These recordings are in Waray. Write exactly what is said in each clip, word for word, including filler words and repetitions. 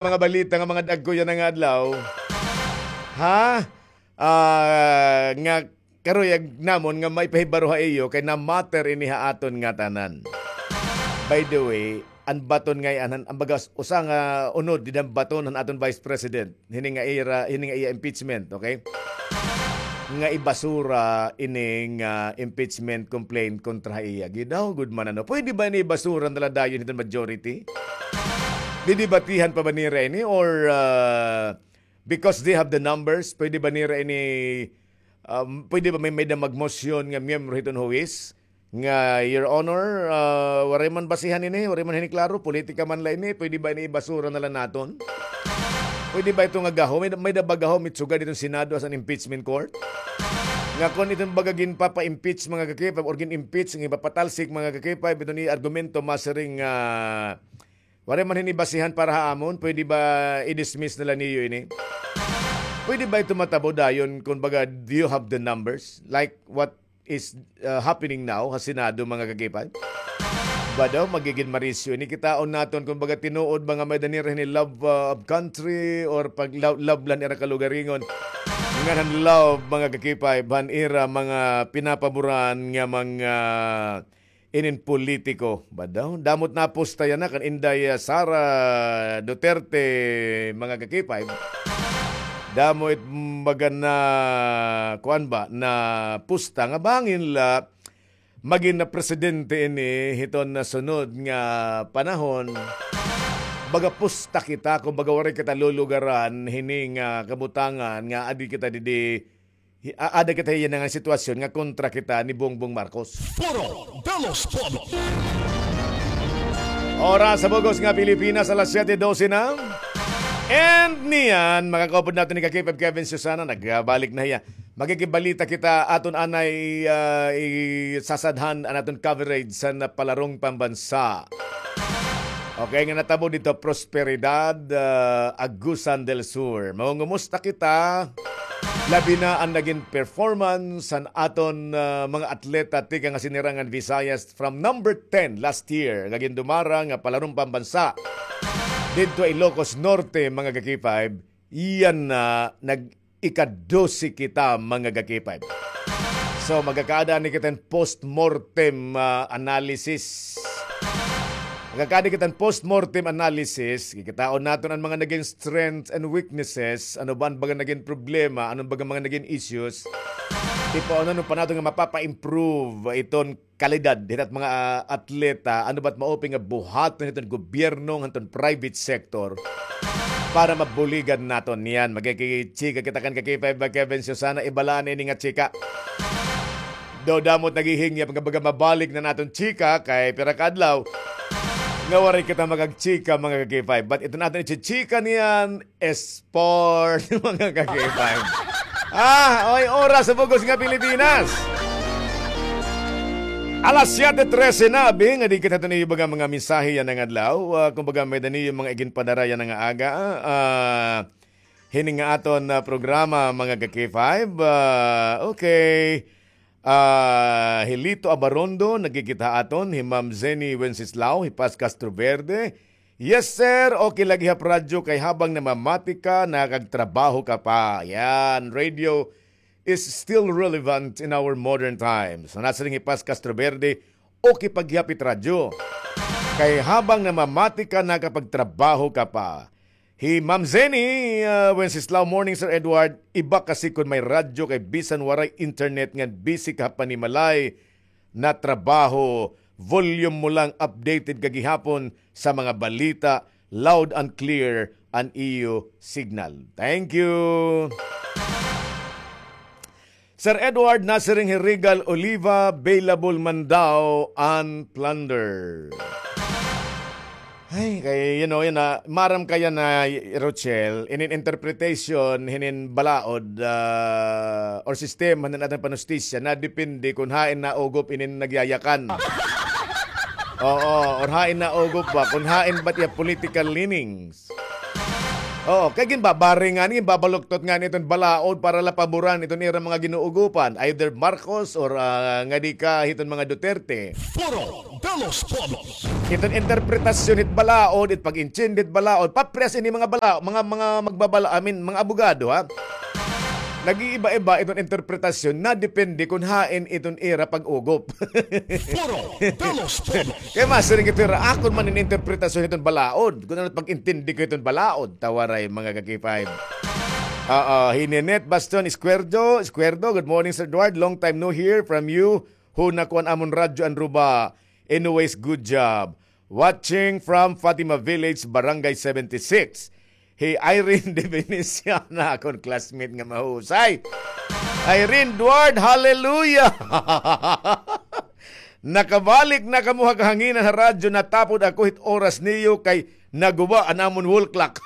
mga balita nga mga dagko yana nga adlaw. Ha? Ah, nga karuyag namon nga maipahibaro ha iyo kay na-matter ini ha aton ngatanan. By the way, an baton ngay-an, an baga usa nga unod dida baton han aton Vice President. Hini nga ira, hini nga iya impeachment, okay? Nga ibasura ini nga impeachment complaint kontra ha iya. Gidaw gud man, ano. Pwede ba ini ibasura na la dayon hiton majority? Didebatihan pa ba nira ini or, ah, because they have the numbers, pwede ba nira ini, um, pwede ba may, may-ada magmosyon nga miyembro hiton huwis nga, "Your Honor, ah, waray man basihan ini, waray man hini klaro, politika man la ini, pwede ba ini ibasura na la naton?" Pwede ba ito nga gahom? May-ada, may-ada ba gahom itsugad hiton Senado as an impeachment court? Nga kon iton baga ginpapa-impeach, mga ka-K five, or gin-impeach, nga ipapatalsik, mga ka-K five, iton iya argumento, masiring nga, "Waray man hini basihan para ha amon, pwede ba i-dismiss na la niyo ini?" Pwede ba ito matabo dayon, kon baga, do you have the numbers? Like what is, uh, happening now ha Senado, mga ka-K five? Ba daw, magigin marisyo ini? Kitaon naton kon baga tinuod ba nga may-ada nira hini love, uh, of country or pag-, love, love la han ira kalugaringon. Ngan han love, mga ka-K five, han ira mga pinapaboran nga mga inin politiko, ba daw? Damo it napusta yana kan Inday, ah, Sara Duterte, mga ka-K five. Damo it, mm, baga na, kuan ba, napusta nga bangin la magin na presidente ini hiton nasunod nga panahon. Baga pusta kita, kon baga waray kita lulugaran hini nga kabutangan nga adi kita didi Hi-, a-, ada kita hiya nga sitwasyon nga kontra kita ni Bongbong Marcos. Foro de los Pueblos. Oras sa bug-os nga Pilipinas, alas siyete dose na. And niyan, makakaupod naton ni ka-K five Kevin Susana, nagbalik na hiya. Maghikibalita kita, aton anay, ah, isasadhan an aton coverage sa napalarong pambansa. Okay, nga natabo didto Prosperidad, ah, Agusan del Sur. Mangungumusta kita, labi na an nagin performance han aton, ah, mga atleta tikang ha Sinirangan Visayas from number ten last year nga gindumara nga palarong pambansa didto ha Ilocos Norte, mga ka-K five. Iyan na, nag-ikadose kita, mga ka-K five. So, magkakaada ni kita hin postmortem, ah, analysis. Magkakaada kita hin postmortem analysis. Kikitaon naton an mga nagin strengths and weaknesses. Ano ba an baga nagin problema? Ano ba an mga nagin issues? Tipaon naton pa naton nga mapapa-improve iton kalidad hiton mga, ah, atleta, ano ba it maupay nga buhaton hiton gobyerno ngan hiton private sector para mabuligan naton niyan. Magkikichika kita kan ka-K five ba, Kevin Susana, ibalaan ini nga chika. Daw damo it naghihingyap nga baga mabalik na an aton chika kay pira ka adlaw nga waray kita makagchika, mga ka-K five. But iton aton ichichika niyan, Sport, mga ka-K five. Ah, oy, oras sa bug-os nga Pilipinas. Alas siyete trese na, abi, nga di kita tuni iba nga mga mensahe yana nga adlaw. Ah, kumbaga, may-ada niyo mga iginpadara yana nga aga. Ah, hini nga aton, ah, programa, mga ka-K five. Ah, okay. Ah, hi Lito Abarondo, nagkikita aton, hi Ma'am Zenny Wenceslao, hi Paz Castroverde. Yes, sir. Okay lagi ha radyo kay habang namamati ka, nakagtrabaho ka pa. Yan, radio is still relevant in our modern times. Nasiring hi Paz Castroverde, okay pa gihap it radyo. Kay habang namamati ka, nakapagtrabaho ka pa. Hi Ma'am Zenny, ah, Wenceslao, morning, Sir Edward. Iba kasi kon may radyo kay bisan waray internet ngan busy ka ha panimalay na trabaho, volume mo lang, updated ka gihapon sa mga balita, loud and clear an iyo signal. Thank you. Sir Edward, nasiring hi Regal Oliva, available man daw an plunder. Ay, kay, you know, yan na, maaram ka yana, Rochelle, inin interpretation, hinin balaod, ah, or sistema hinin aton panustisya, nadepende kon hain naugop inin nagyayakan. Oo, or hain naugop ba, kon hain ba it iya political leanings. Oo, kay ginbabaring ngani, ginbabaluktot ngani iton balaod para la paboran iton ira mga ginuugopan, either Marcos or, ah, ngadi ka hiton mga Duterte. Foro de los Pueblos. Iton interpretasyon hit balaod, it pag-intindi hit balaod, paprehas ini mga bala-, mga, mga magbabala-, I mean, mga abogado, ha? Nag-iiba-iba iton interpretasyon, nadepende kon hain iton ira pag-ugop. Foro de los Pueblos. Kay masiring ito ira, akon man in interpretasyon hiton balaod. Kon ano pag-intindi ko hiton balaod, ta waray mga ka-K five. Oo, hi Ninette Bastion Escuerdo, Escuerdo, good morning, Sir Edward. Long time no hear from you. Huna ko an amon radyo an ruba. Anyways, good job. Watching from Fatima Village, Barangay seventy-six. Hi Irene de Veneciana, akon classmate nga mahusay. Irene Duard, hallelujah! Nakabalik na kamo ha kahanginan ha radyo, natapod ako hit oras niyo kay naguba an amon wall clock.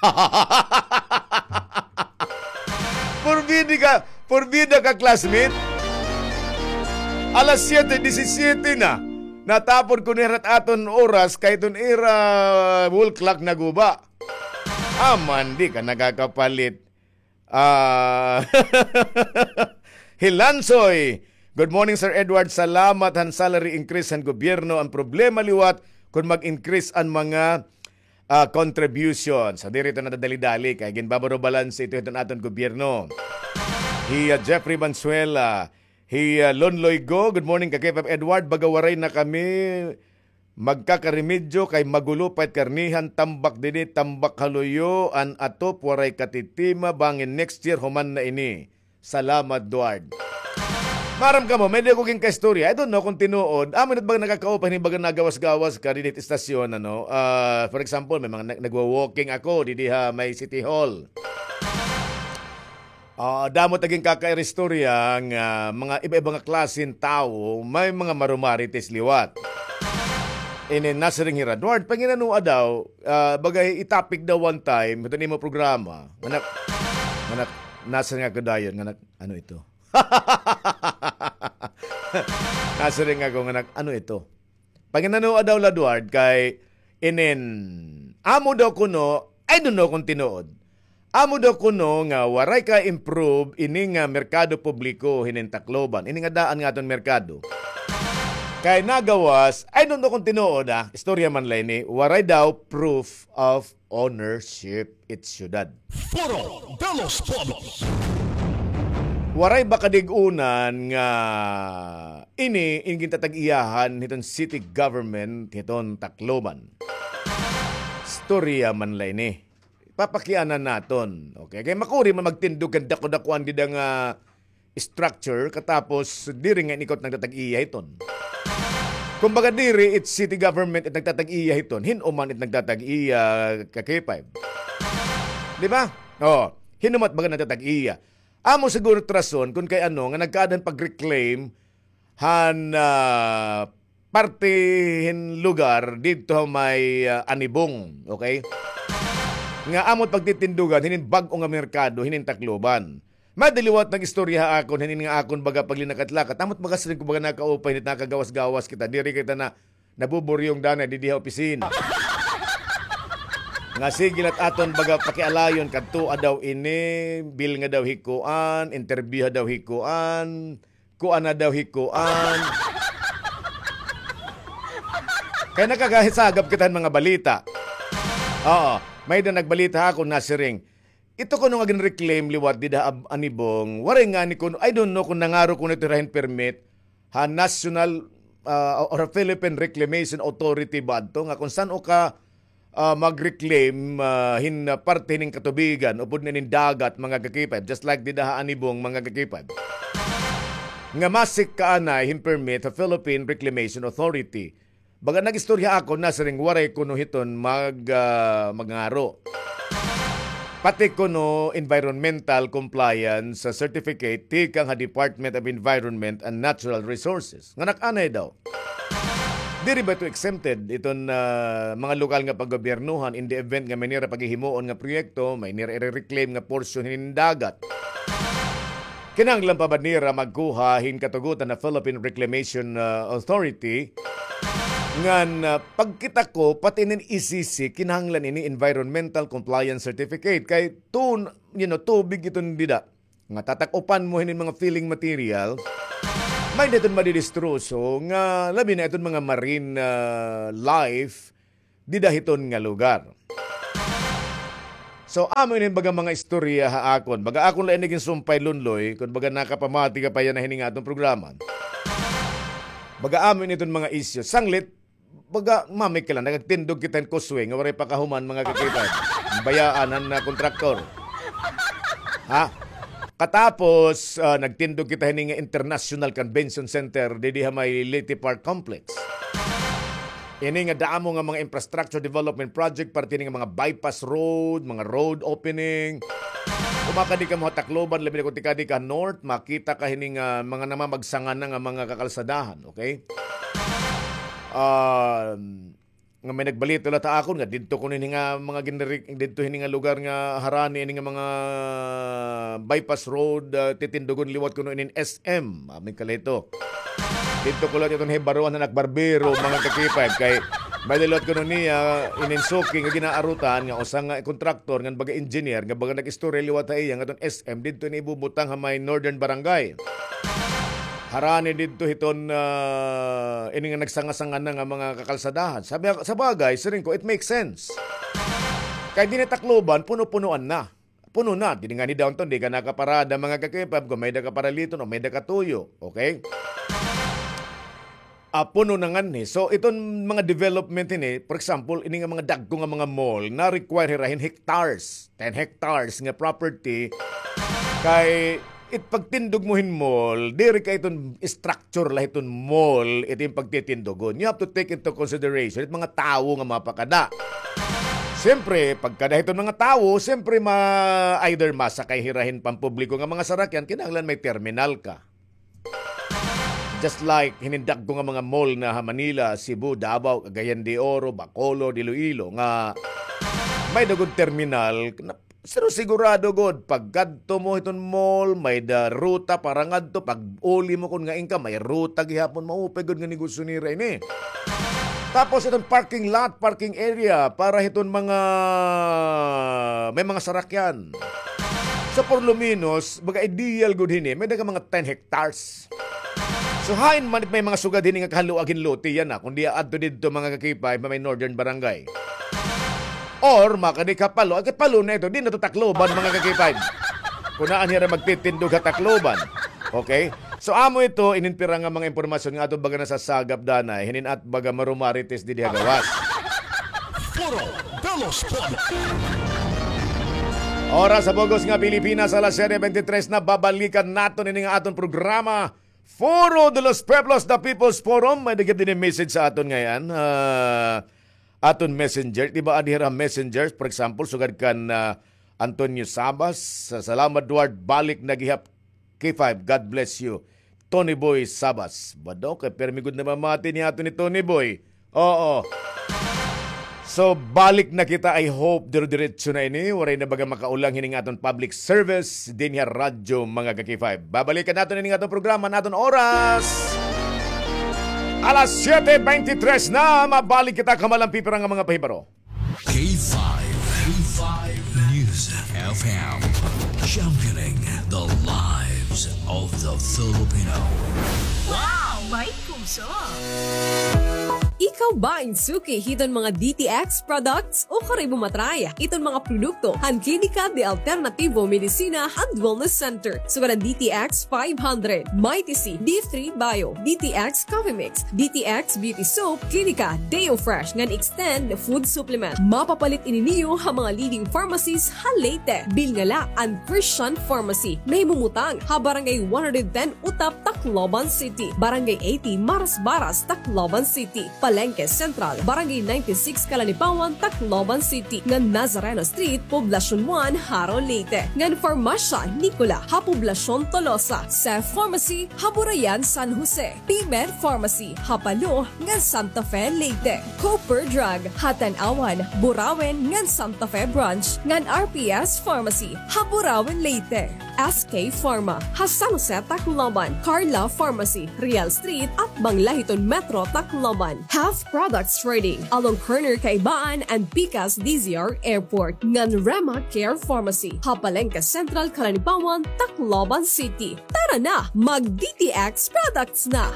Purbida ka, purbida ka, classmate. Alas siyete disisiyete na. Natapod ko na hira hit aton oras kay iton ira wall clock naguba. Aman, di ka nakakapalit. Ah, Hilansoy. Good morning, Sir Edward. Salamat han salary increase han gobyerno. An problema liwat kon mag-increase an mga, ah, contributions. Sa diri ito nadadali-dali kay ginbabaro balance ito hiton aton gobyerno. Hi, ah, Jeffrey Banzuela. Hi, ah, Lonloy Go. Good morning, ka-K five Edward. Baga waray na kami magkakaremedyo kay magulo pa it karnihan, tambak didi, tambak ha luyo, an atop waray katitima, bangin next year human na ini. Salamat, Duard. Maaram kamo, may-ada ako ginkaistorya. I don't know kon tinuod. Amo na it baga nakakaupay hini baga nagawas-gawas ka dinhi hit istasyon, ano. Ah, for example, may mga nag-, nagwa-walking ako didi ha may City Hall. Ah, damo it ginkaistorya nga mga iba-iba nga klase hin tawo, may mga marumarites liwat. Ini nasiring hira, Duard, panginanoa daw, ah, bagay i-topic daw one time, hiton imo programa. Nga nak-, nga nak-, nasiring ako dayon, nga nak-, ano ito? Nasiring ako nga nak-, ano ito? Panginanoa daw la, Duard, kay inin, amo daw kuno, I don't know kon tinuod. Amo daw kuno nga waray ka-improve ini nga merkado publiko hinin Tacloban, ini nga daan nga aton merkado. Kay nagawas, I don't know kon tinuod, ah, istorya man la ini, waray daw proof of ownership it syudad. Foro de los Pueblos. Waray ba kadig-unan nga ini in gintatag-iyahan hiton city government hiton Tacloban? Istorya man la ini. Papakianan naton. Okay, kay makuri man magtindog kan dako-dakuan dida nga structure, katapos diri nga in-ikot nagtatag-iya hiton. Kumbaga diri it city government it nagtatag-iya hiton, hin-o man it nagtatag-iya, ka-K five. Di ba? Oh, hin-o man it baga nagtatag-iya. Amo siguro it rason kon kay ano nga nagkaada hin pag-reclaim han, ah, parte hin lugar didto ha may, ah, Anibong, okay? Nga amo it pagtitindugan hinin bag-o nga merkado hinin Tacloban. May-ada liwat nag-istorya ha akon, hinin nga akon baga paglinakat-lakat. Amo it baga siring ko baga nakaupay, hinin nakagawas-gawas kita. Diri kita na nabuburyong danay didi ha opisina. Nga sige la it aton baga pakialayon, kadtoa daw ini, bilnga daw hi kuan, interbyuha daw hi kuan, kuan na daw hi kuan. Kay nakakasagap kita hin mga balita. Oo, may-ada nagbalita ha akon, nasiring, ito kuno nga gin-reclaim liwat dida ha Ab-, Anibong, waray ngani kuno, I don't know kon nangaro kuno ito hira hin permit ha National, ah, or Philippine Reclamation Authority ba adto, nga kon san-o ka, ah, mag-reclaim, ah, hin, ah, parte hinin katubigan, upod na hinin dagat, mga ka-K five, just like dida ha Anibong, mga ka-K five. Nga masik ka anay hin permit ha Philippine Reclamation Authority. Baga nag-istorya ako, nasiring waray kuno hiton mag-, ah, mangaro. Pati kuno environmental compliance certificate tikang ha Department of Environment and Natural Resources. Nga nak-anay daw. Diri ba ito exempted iton, ah, mga lokal nga paggobyernohan in the event nga may nira paghihimuon nga proyekto, may nira ire-reclaim nga portion hinin dagat? Kinahanglan pa ba nira magkuha hin katugutan ha Philippine Reclamation, ah, Authority Ngan, ah, pagkita ko, pati inin E C C, kinahanglan ini environmental compliance certificate. Kay tun-, you know, tubig iton dida. Nga tatak-upan mo hinin mga filling material, may-ada iton madidistroso nga labi na iton mga marine, ah, life dida hiton nga lugar. So, amo ini baga mga istorya ha akon. Baga akon la ini ginsumpay, Lunloy, kon baga nakapamati ka pa yana hini nga aton programa. Baga amo ini iton mga isyu. Sanglit, baga, mami ka la, nagtindog kita hin causeway nga waray pa kahuman, mga kakipad. Bayaan han, ah, kontraktor. Ha? Katapos, ah, nagtindog kita hini nga International Convention Center didi ha may Leyte Park Complex. Ini nga damo nga mga infrastructure development project, parte hini nga mga bypass road, mga road opening. Kon makadi kamo ha Tacloban, labi na kon tikadi ka north, makita ka hini nga mga namamagsanga na nga mga kakalsadahan, okay? Um, nga may nagbalita la ha akon nga didto kuno hini nga mga ginri-, didto hini nga lugar nga harani ini nga mga bypass road, ah, titindugon liwat kuno inin S M. Amin kalito. Didto ko la iton hibaroan han ak barbero, mga kakipad, kay may liwat kuno niya inin suki nga ginaarutan nga usa nga kontraktor ngan baga engineer nga baga nag-istorya liwat ha iya nga iton S M didto ini ibubutang ha may Northern Barangay. Harani didto hiton, ah, ini nga nagsanga-sanga na nga mga kakalsadahan. Sabi, sa bagay, siring ko, it makes sense. Kay dinhi ha Tacloban, puno-punoan na. Puno na. Dinhi ngani downtown, di ka nakaparada, mga kakipad, kon may-ada ka paraliton o may-ada ka tuyo. Okay? Ah, puno na nganhi. So, iton mga development ini, for example, ini nga mga dagko nga mga mall, na-require hira hin hectares, ten hectares nga property, kay it pagtindog mo hin mall, diri kay iton structure la hiton mall, ito yung pagtitindogon. You have to take into consideration it mga tawo nga mapakada. Siyempre, pagkada hiton mga tawo, siyempre, ma-, either masakay hira hin pampubliko nga mga sarakyan, kinahanglan may terminal ka. Just like hinin dagko nga mga mall na ha Manila, Cebu, Davao, Cagayan de Oro, Bacolod, Iloilo, nga may-ada gud terminal, na, pero sigurado gud, pagkadto mo hiton mall, may-ada ruta para ngadto, pag-uli mo kon ngain ka, may ruta gihapon, maupay gud nga negosyo nira ini. Tapos iton parking lot, parking area para hiton mga may mga sarakyan. So, por lo menos, baga ideal gud hini, may-ada ka mga ten hectares. So, hain man it may mga sugad hini nga kahaluag hin lote yana, kundi aadto didto, mga kakipay, may Northern Barangay. Or, makadi ka Palo, ay, kay Palo na ito, di na to Tacloban, mga kakipay. Kunaan hira magtitindog ha Tacloban. Okay? So, amo ito, inin pira nga mga impormasyon nga ato baga nasasagap danay, hinin at baga marumarites didi ha gawas. Foro de los Pueblos. Oras sa bug-os nga Pilipinas, alas siyete bente tres na, babalikan naton ini nga aton programa, Foro de los Pueblos, the People's Forum. May daghan dinhi message sa aton ngay-an. Ah, aton messenger, di ba, adi hira messenger, for example, sugad kan, ah, Antonio Sabas, sa-, salamat, Duard, balik na gihap, K five, God bless you. Tony Boy Sabas. Bado, kay permi gud namamati niya ato ni Tony Boy. Oo. So, balik na kita. I hope dire-diretso na ini. Waray na baga makaulang hining aton public service dinhi ha radyo, mga ka-K five. Babalikan naton ini nga aton programa, naton oras. Alas siyete bente tres na, mabalik kita kamalampi pira nga mga pahibaro. K five, K five News F M, championing the lives of the Filipino. Wow! May puso! Ikaw ba in suki hiton mga D T X products? O kari mo matry iton mga produkto han Klinika de Alternativo Medicina and Wellness Center. Sugad han D T X five hundred, Mighty C, D three Bio, D T X Coffee Mix, D T X Beauty Soap, Klinika Deo Fresh ngan Extend Food Supplement. Mapapalit ini niyo ha mga leading pharmacies ha Leyte. Bilngala an Christian Pharmacy, nahimumutang ha Barangay one hundred ten Utap, Tacloban City, Barangay eighty Marasbaras, Tacloban City, Palengke Central, Barangay ninety-six Calanipawan, Tacloban City, ngan Nazareno Street, Poblacion one, Jaro, Leyte, ngan Farmacia Nicola ha Poblacion Tolosa, Seth Pharmacy ha Burayan, San Jose, P-Med Pharmacy ha Palo ngan Santa Fe, Leyte, Cooper Drug ha Tanauan, Burauen ngan Santa Fe Branch, ngan R P S Pharmacy ha Burauen, Leyte. S K Pharma, ha San Jose, Tacloban, Carla Pharmacy, Real Street, atbang la hiton Metro, Tacloban. Half Products Trading, along corner Kaibaan and Pikas D Z R Airport, ngan Rema Care Pharmacy, ha Palengke Central, Calanibaon, Tacloban City. Tara na, mag D T X products na!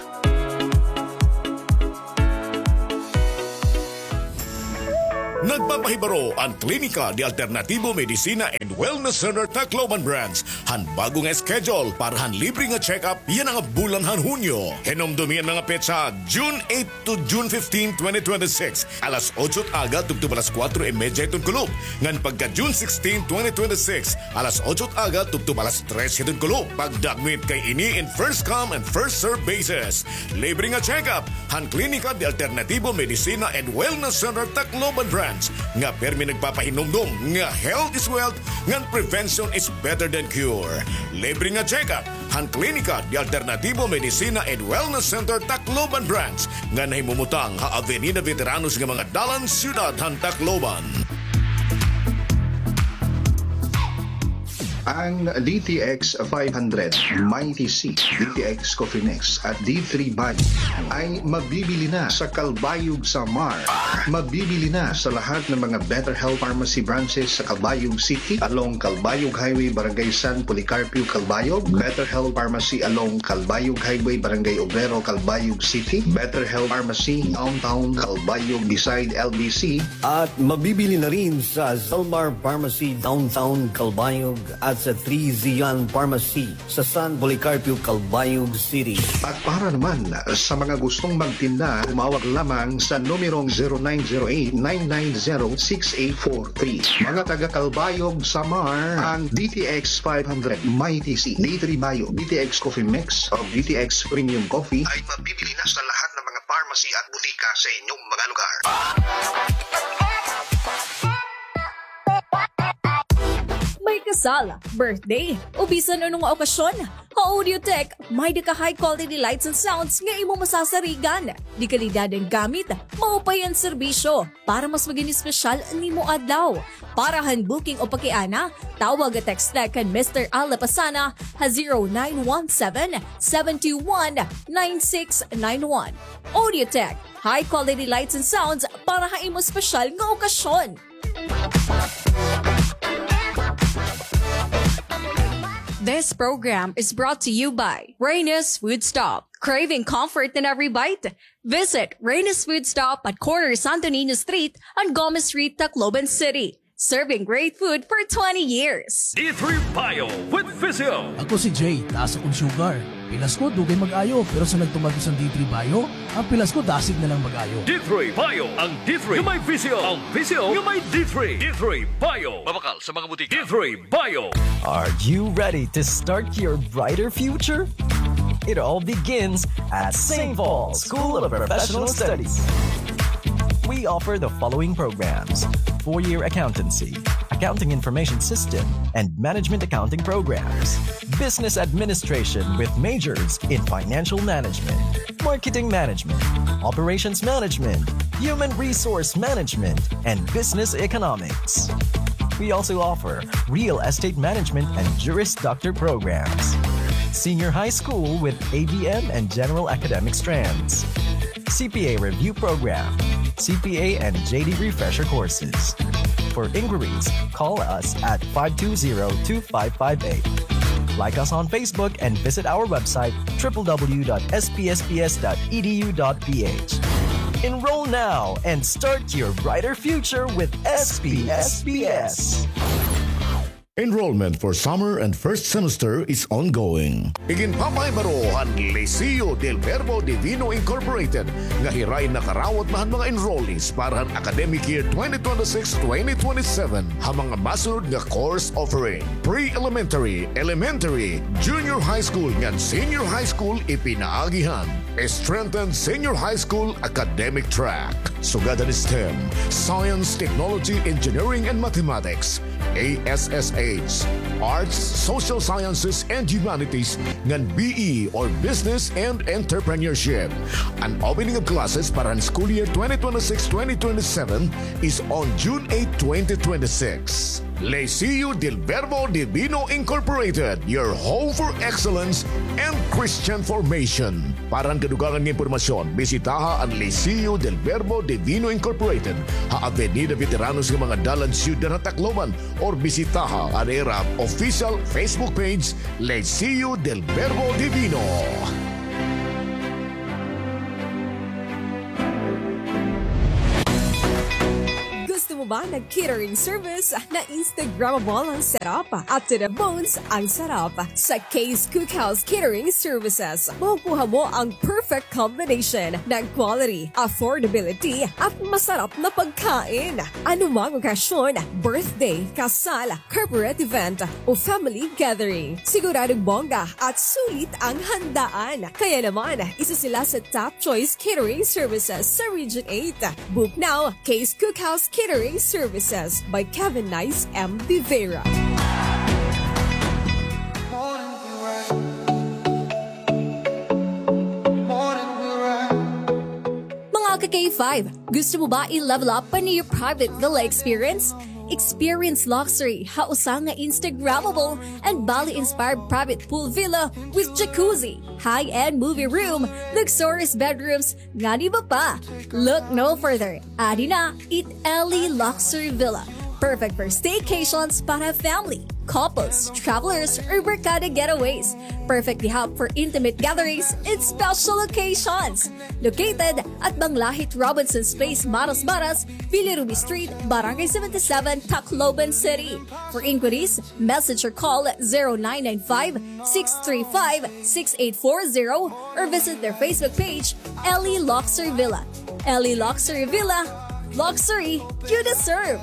Nagpapahibaro an Klinika de Alternativo Medicina and Wellness Center Tacloban Branch han bag-o nga schedule para han libre nga check-up yana nga bulan han Hunyo. Hinumdomi an mga petsa, June eight to June fifteen, twenty twenty-six, alas otso it aga tubtob alas kuwatro y medya hiton kulop, ngan pagka June sixteen, twenty twenty-six, alas otso it aga tubtob alas tres hiton kulop. Pagdagmit kay ini in first come and first serve basis. Libre nga check-up han Klinika de Alternativo Medicina and Wellness Center Tacloban Branch, nga pirmi nagpapahinumdom nga health is wealth ngan prevention is better than cure. Libre nga check-up han Klinika de Alternativo Medicina and Wellness Center Tacloban Branch, nga nahimumutang ha Avenida Veteranos nga mga dalan, siyudad han Tacloban. Ang D T X five hundred, Mighty C, D T X Coffee Mix at D three Bio ay mabibili na sa Calbayog, Samar. Mabibili na sa lahat ng mga Better Health Pharmacy branches sa Calbayog City, along Calbayog Highway, Barangay San Policarpio, Calbayog, Better Health Pharmacy along Calbayog Highway, Barangay Obrero, Calbayog City, Better Health Pharmacy Downtown Calbayog beside L B C, at mabibili na rin sa Zalmar Pharmacy Downtown Calbayog at sa Three Zion Pharmacy sa San Policarpio, Calbayog City. At para naman sa mga gustong magtinda, tumawag lamang sa numerong zero nine zero eight nine nine zero six eight four three. Mga taga Calbayog, Samar, ang D T X five hundred, Mighty C, D three Bio, D T X Coffee Mix, o D T X Premium Coffee ay mabibili na sa lahat ng mga pharmacy at butika sa inyong mga lugar. May kasal, birthday, o bisan ano nga okasyon, ha Audiotech, may-ada ka high quality lights and sounds nga imo masasarigan. De kalidad an gamit, maupay an serbisyo, para mas magin espesyal an imo adlaw. Para han booking o pakiana, tawag o text la kan Mister Al Lapasana ha zero nine one seven, seven two one, nine six nine one. Audiotech, high quality lights and sounds para ha imo espesyal nga okasyon. This program is brought to you by Reyna's Food Stop. Craving comfort in every bite? Visit Reyna's Food Stop at corner Santo Niño Street and Gomez Street, Tacloban City. Serving great food for twenty years. D three Bio with Visio. Ako si Jay, taas akon sugar. Pilas ko, dugay mag-ayo, pero sa nagtumar ko san D three Bio, an pilas ko dasig na lang mag-ayo. D three Bio, ang D three nga may Visio, ang Visio nga may D three. D three Bio. Mabakal sa mga butika. D three Bio. Are you ready to start your brighter future? It all begins at Saint Paul School of Professional Studies. We offer the following programs: four-year accountancy, accounting information system, and management accounting programs. Business administration with majors in financial management, marketing management, operations management, human resource management, and business economics. We also offer real estate management and Juris Doctor programs. Senior high school with A B M and general academic strands. C P A review program, C P A and J D refresher courses. For inquiries, call us at five two zero, two five five eight. Like us on Facebook and visit our website, triple W dot S P S P S dot E D U dot P H. Enroll now and start your brighter future with S P S P S. Enrollment for summer and first semester is ongoing. Iginpapahibaro han Liceo del Verbo Divino Incorporated nga hiray nakarawat na han mga enrollees para han academic year twenty twenty-six twenty twenty-seven ha mga masunod nga course offering: pre-elementary, elementary, junior high school ngan senior high school ipinaagi han Strengthened Senior High School Academic Track. Sugad han STEM, Science, Technology, Engineering, and Mathematics, A S S H, Arts, Social Sciences, and Humanities, ngan B E or Business and Entrepreneurship. An opening of classes para han school year twenty twenty-six twenty twenty-seven is on June eight, twenty twenty-six. Liceo del Verbo Divino Incorporated, your home for excellence and Christian formation. Para han kadugangan nga impormasyon, bisitaha an Liceo del Verbo Divino Incorporated ha Avenida Veteranos nga mga dalan, Syudad ha Tacloban, or bisitaha an ira official Facebook page, Liceo del Verbo Divino. Gusto mo ba ng catering service na Instagrammable ang setup at to the bones ang sarap? Sa Kay's Cookhouse Catering Services, makukuha mo ang perfect combination ng quality, affordability, at masarap na pagkain. Anumang okasyon, birthday, kasal, corporate event, o family gathering, siguradong bongga at sulit ang handaan. Kaya naman, isa sila sa top choice catering services sa Region eight. Book now, Kay's Cookhouse Catering Services by Kevin Nice M. Vivera. Mga ka-K five, gusto mo ba i-level up pa niyo private villa experience? Experience luxury ha usa nga Instagrammable and Bali-inspired private pool villa with jacuzzi, high-end movie room, luxurious bedrooms, ngan iba pa. Look no further. Adi na it Ellie Luxury Villa. Perfect for staycations para family, couples, travelers, or barkada getaways. Perfect gihap for intimate gatherings and special occasions. Located at Manglahit Robinson's Place, Maras Maras, Bilirubin Street, Barangay seventy-seven, Tacloban City. For inquiries, message or call zero nine nine five, six three five, six eight four zero or visit their Facebook page, Ellie Luxury Villa. Ellie Luxury Villa, luxury you deserve.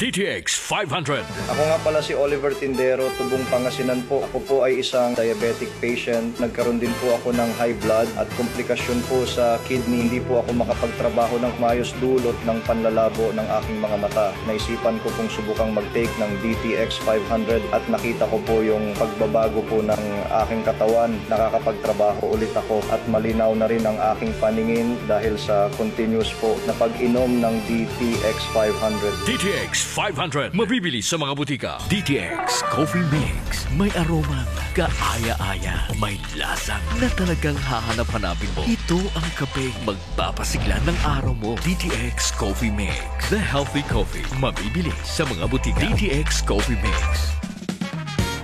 D T X five hundred. Ako nga pala si Oliver Tindero, tubong Pangasinan po. Ako po ay isang diabetic patient. Nagkaroon din po ako ng high blood at komplikasyon po sa kidney. Hindi po ako makapagtrabaho ng maayos dulot ng panlalabo ng aking mga mata. Naisipan ko pong subukang mag-take ng D T X five hundred at nakita ko po yung pagbabago po ng aking katawan. Nakakapagtrabaho ulit ako at malinaw na rin ang aking paningin dahil sa continuous po na pag-inom ng D T X five hundred. D T X five hundred, mabibili sa mga butika. D T X Coffee Mix. May aromang kaaya-aya. May lasang na talagang hahanap-hanapin mo. Ito ang kapeng magpapasigla ng araw mo. D T X Coffee Mix. The healthy coffee. Mabibili sa mga butika. D T X Coffee Mix.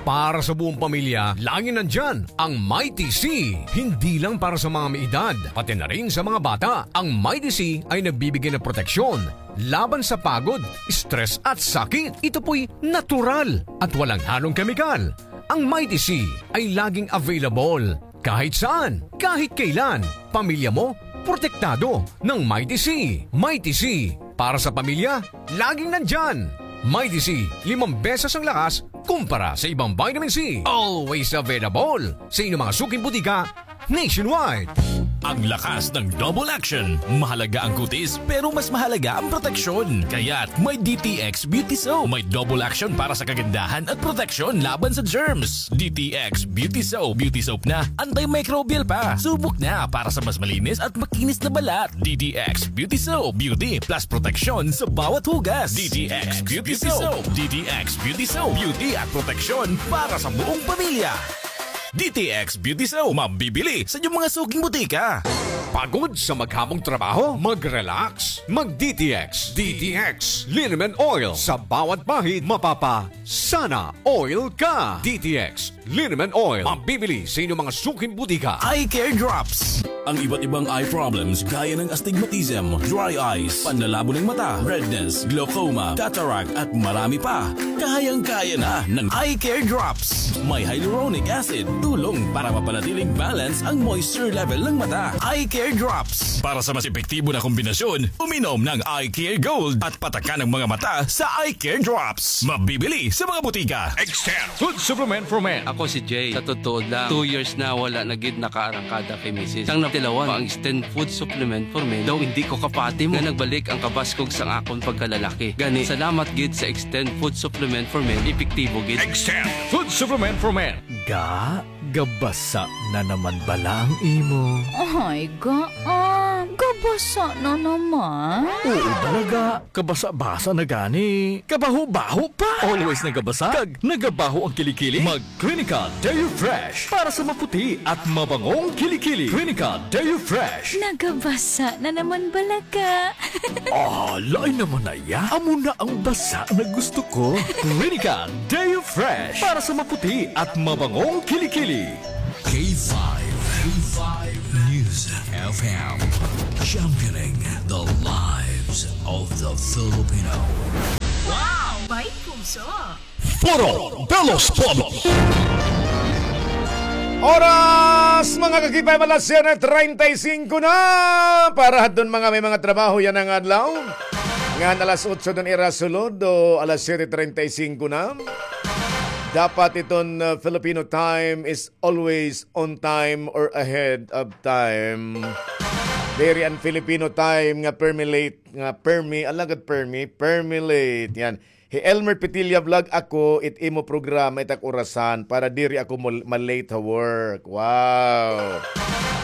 Para sa buong pamilya, laging nandiyan ang Mighty C. Hindi lang para sa mga may edad, pati na rin sa mga bata. Ang Mighty C ay nagbibigay ng proteksyon laban sa pagod, stress at sakit. Ito po'y natural at walang halong kemikal. Ang Mighty C ay laging available kahit saan, kahit kailan. Pamilya mo, protektado ng Mighty C. Mighty C, para sa pamilya, laging nandyan. Mighty C, limang beses ang lakas kumpara sa ibang vitamin C. Always available sa inyong mga suking butika nationwide. Ang lakas ng double action. Mahalaga ang kutis, pero mas mahalaga ang proteksyon. Kaya't may D T X Beauty Soap. May double action para sa kagandahan at proteksyon laban sa germs. D T X Beauty Soap. Beauty Soap na, antimicrobial pa. Subok na para sa mas malinis at makinis na balat. D T X Beauty Soap. Beauty plus proteksyon sa bawat hugas. D T X Beauty Soap. D T X Beauty Soap. Beauty at proteksyon para sa buong pamilya. D T X Beauty Soap, mabibili sa inyong mga suking butika. Pagod sa maghamong trabaho? Mag-relax. Mag-D T X. D T X Liniment Oil. Sa bawat bahid, mapapa-sana all ka. D T X Liniment Oil. Mabibili sa inyong mga suking butika. Eye Care Drops. Ang iba't ibang eye problems gaya ng astigmatism, dry eyes, panlalabo ng mata, redness, glaucoma, cataract, at marami pa. Kayang-kaya na ng Eye Care Drops. May hyaluronic acid, tulong para mapanatiling balance ang moisture level ng mata. Eye Care Drops. Para sa mas epektibo na kombinasyon, uminom ng Eye Care Gold at patakan ang mga mata sa Eye Care Drops. Mabibili sa mga butika. Extend Food Supplement for Men. Ako si Jay. Sa totoo lang, two years na wala na gid nakaarangkada kay misis. Sang natilawan pa ang Extend Food Supplement for Men, daw indi ko kapati mo nga nagbalik ang kabaskog sang akon pagkalalaki. Gani, salamat gid sa Extend Food Supplement for Men, epektibo gid. Extend Food Supplement for Men. Ga, gabasa na naman bala ang imo. Ay, gaan. Kabasa na naman? Oo, talaga. Kabasa-basa na gani. Kabaho-baho pa. Always nagabasa. Kag nagabaho ang kilikili. Mag Clinica Deo Fresh para sa maputi at mabangong kilikili. Clinica Deo Fresh. Nagabasa na naman bala ka. Ah, lain naman na iya. Amo na ang basa na gusto ko. Clinica Deo Fresh para sa maputi at mabangong kilikili. K five, K five News F M, championing the lives of the Filipino. Wow! May puso! Foro de los Pueblos. Oras, mga ka-K five, alas siyete treinta y cinco na. Para hadton mga may mga trabaho yana nga adlaw. Ngan alas otso dun ira sulod, o alas siyete treinta y cinco na. Dapat iton, uh, Filipino time is always on time or ahead of time. Diri an Filipino time nga permi late, nga permi, alagad permi, permi late. Yan. Hi Elmer Petilla Vlog, ako, it imo programa, it ak orasan, para diri ako mol-, ma-late ha work. Wow.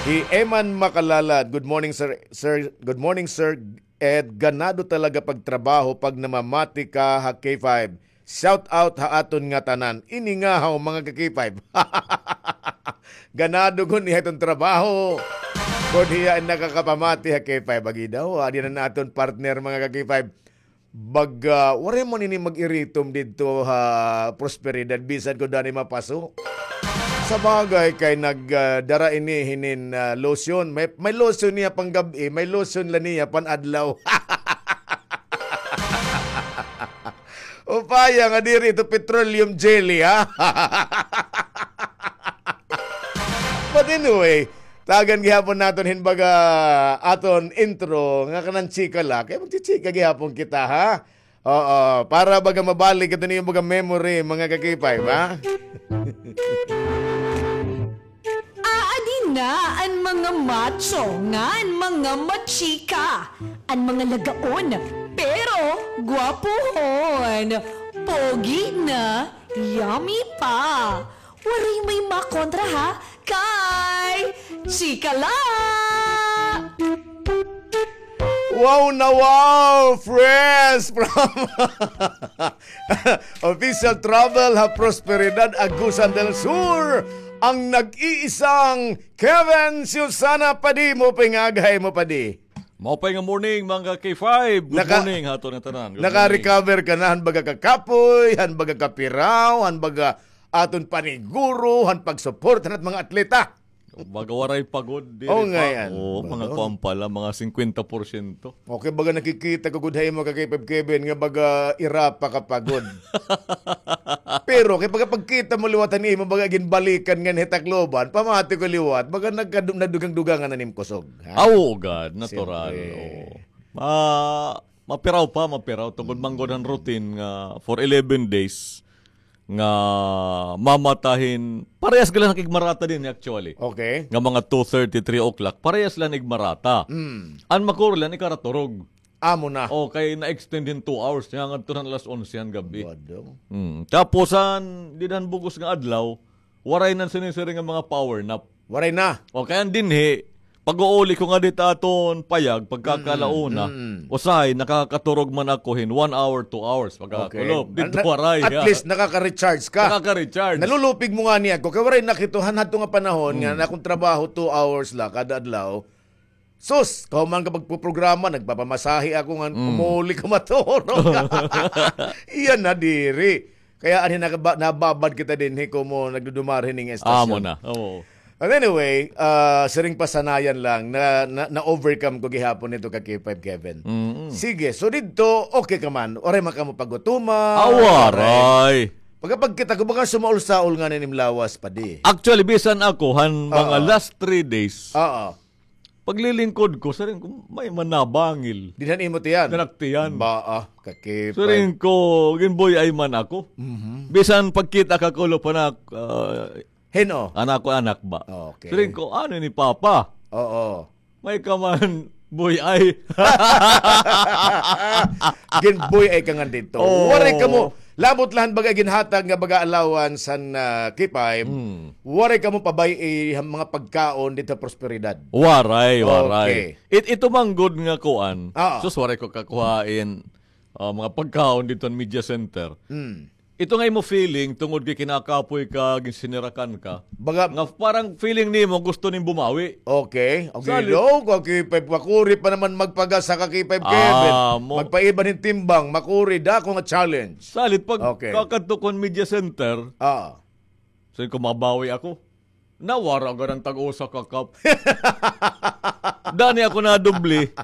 Hi Eman Makalalad, "Good morning, sir, sir, good morning, sir Ed. Ganado talaga pagtrabaho pag namamati ka ha K five. Shout out ha aton ngatanan." Ini nga haw, mga ka-K five. Ganado gud niya iton trabaho. Kon hiya an nakakapamati ha K five, agi daw, adi na an aton partner, mga ka-K five. Baga, waray man ini mag-iritom didto ha Prosperidad, bisan kon dani mapaso. Sabagay kay nag, ah, dara ini hinin, ah, lotion. May, may lotion niya panggab-i, may lotion la niya pan-adlaw. Upaya nga diri ito petroleum jelly, ha? But anyway, tagan gihapon naton hin baga aton intro nga kanan chika la. Kay magchichika gihapon kita, ha? Oo, para baga mabalik ito niyo baga memory, mga ka-K five, ha? Aadi na an mga macho ngan mga machika, an mga lagaon, pero gwapohon, pogi na, yummy pa. Waray may makontra, ha? Kay chika la! Wow na wow! Fresh from Official Travel ha Prosperidad, Agusan del Sur, ang nag-iisang Kevin Susana Padi. Maupay nga aga ha imo, Padi. Maupay nga morning, mga K five. Good morning ha aton nga tanan. Good morning. Naka-recover ka na han baga kakapoy, han baga kapiraw, han baga aton paniguro, han pagsuporta han aton mga atleta. Baga waray pagod diri pa. Oo, mga kuan pa la, mga singkwenta porsyento. Okay, baga nakikita ko gud ha imo, ka-K five Kevin, nga baga ira pa ka pagod. Pero kay pagka pagkita mo liwat han imo, baga ginbalikan ngan hi Tacloban, pamati ko liwat, baga nagkadu-, nadugang-dugangan na nim kusog, ha? Ah, oo, gad, natural. Siyempre. Oo. Ma-, mapiraw pa, mapiraw. Tungod man gud han routine nga for eleven days, nga mamata hin, parehas gud la hin igmarata dinhi actually. Okay. Nga mga two thirty, three o'clock, parehas la hin igmarata. Mm. An makuri la hin ikaraturog. Amo na. O, kay na-extend hin two hours, nga ngadto han alas onse han gab-i. Wado. Mm. Tapos han, dida han bug-os nga adlaw, waray na sinisiring nga mga power nap. Waray na. O, kay an dinhi, pag-uuli ko ngadi ha aton payag, pagkakalauna, mm, mm, usahay, nakakaturog man ako hin one hour, two hours, pagkakulop. Okay. Didto waray, ha. At least, nakaka-recharge ka. Nakaka-recharge. Nalulupig mo ngani ako, kay waray na kito, han hadto nga panahon, nga, mm, an akon trabaho, two hours la, kada adlaw. Sus, kahuman ka pagpuprograma, nagpapamasahe ako nga, mm, umuuli ka maturog. Iya na diri. Kaya anhi nakaba-, nababad kita dinhi komo nagdudumar hining estasyon. Amo na, oo. But anyway, ah, siring pasanayan lang, na, na, na-overcome ko gihapon ito ka K five Kevin. Mm-mm. Sige, so didto, okay ka man. Waray man kamo pagutuma. Ah, waray. Pagkapagkita ko, baga sumaol-saol ngani an im lawas, Padi. Actually, bisan ako, han mga last three days, oo. Paglilingkod ko, siring ko, may man nabangil. Dinhi han imo tiyan? Kanak tiyan. Baa, ka-K five. Siring ko, ginbuy-ay man ako. Mhm. Bisan pagkita kakulop han ak-, ah, hin-o? An akon anak ba? Okay. Siring ko, ano ni Papa? Oo. May ka man buy-ay. Ginbuy-ay ka ngani didto. Oo. Waray kamo, Labot la han baga ginhatag nga baga allowance han, ah, K five, Hmm. waray kamo pabay-i han mga pagkaon didto ha Prosperidad. Waray, waray. Okay. It-, ito man gud nga kuan. Ah. Sus, waray ko kakuhain, ah, mga pagkaon didto han media center. Hmm. Ito nga imo feeling, tungod kay kinakapoy ka, ginsinirakan ka. Baga nga parang feeling nimo, gusto nim bumawi. Okay. Okay, Salit. daw, ka K five, makuri pa naman magpagasa ka K five, Ah, Kevin. mo- Magpaiba hin timbang, makuri, dako nga challenge. Salit, pag Okay. kakadto ko han media center, Ah. sabi ko, mabawi ako. Nawara ka ng tag-usa ka cup. Dani ako nadubli.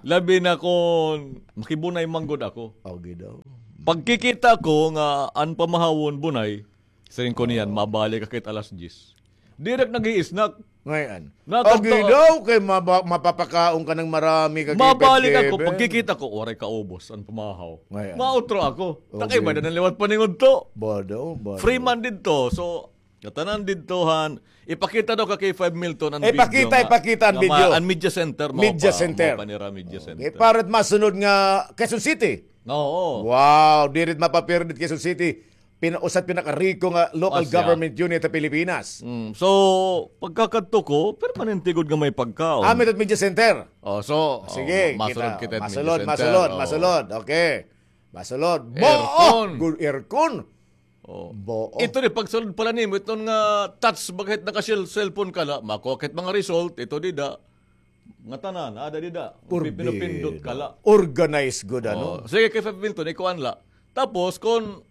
Labi na kon makibunay man gud ako. Okay daw. Pagkikita ko nga an pamahawon bunay, siring ko niyan, mabalik ka kit alas diyes. Direk nag-i-snack. Ngayon. Nakadto- Okay daw, kay maba-, mapapakaon ka ng marami ka Mabalik ako, Kevin. Pagkikita ko, waray kaubos an pamahaw. Ngayon. Mautro ako. Okay. Takay ba na liwat paningudto? Ba daw, ba Free daw. man didto. So, ngatanan didto han, ipakita daw ka K five Milton an video Ipakita, nga, ipakita an nga video. ma-, an media center mo Media pa, center. mo pa nira media Okay, center. Para masunod nga Quezon City. Oo. Wow, diri mapapirdit Quezon City. Pina-, usa it pinakariko nga local Asya. government unit sa Pilipinas. Mm, so, pagkakadto ko, permanente gud nga may pagkaon. Ah, may media center. Oh, so, Sige, oh, ma-, masulod kita. kita, Masulod, media center. masulod, Oh. masulod. Okay. Masulod. Bo-, Aircon. oh, good aircon. Oh. Bo-, oh. Ito ni, pagsulod pala nimo, iton nga touch, baga hit naka-cell-, cellphone ka la, makuha ka hit mga result, ito dida. Nga tanan, ada dida. Pipinupindot ka la. Organized good, ano? Oh, sige, K five Milton, ikuan la. Tapos, kon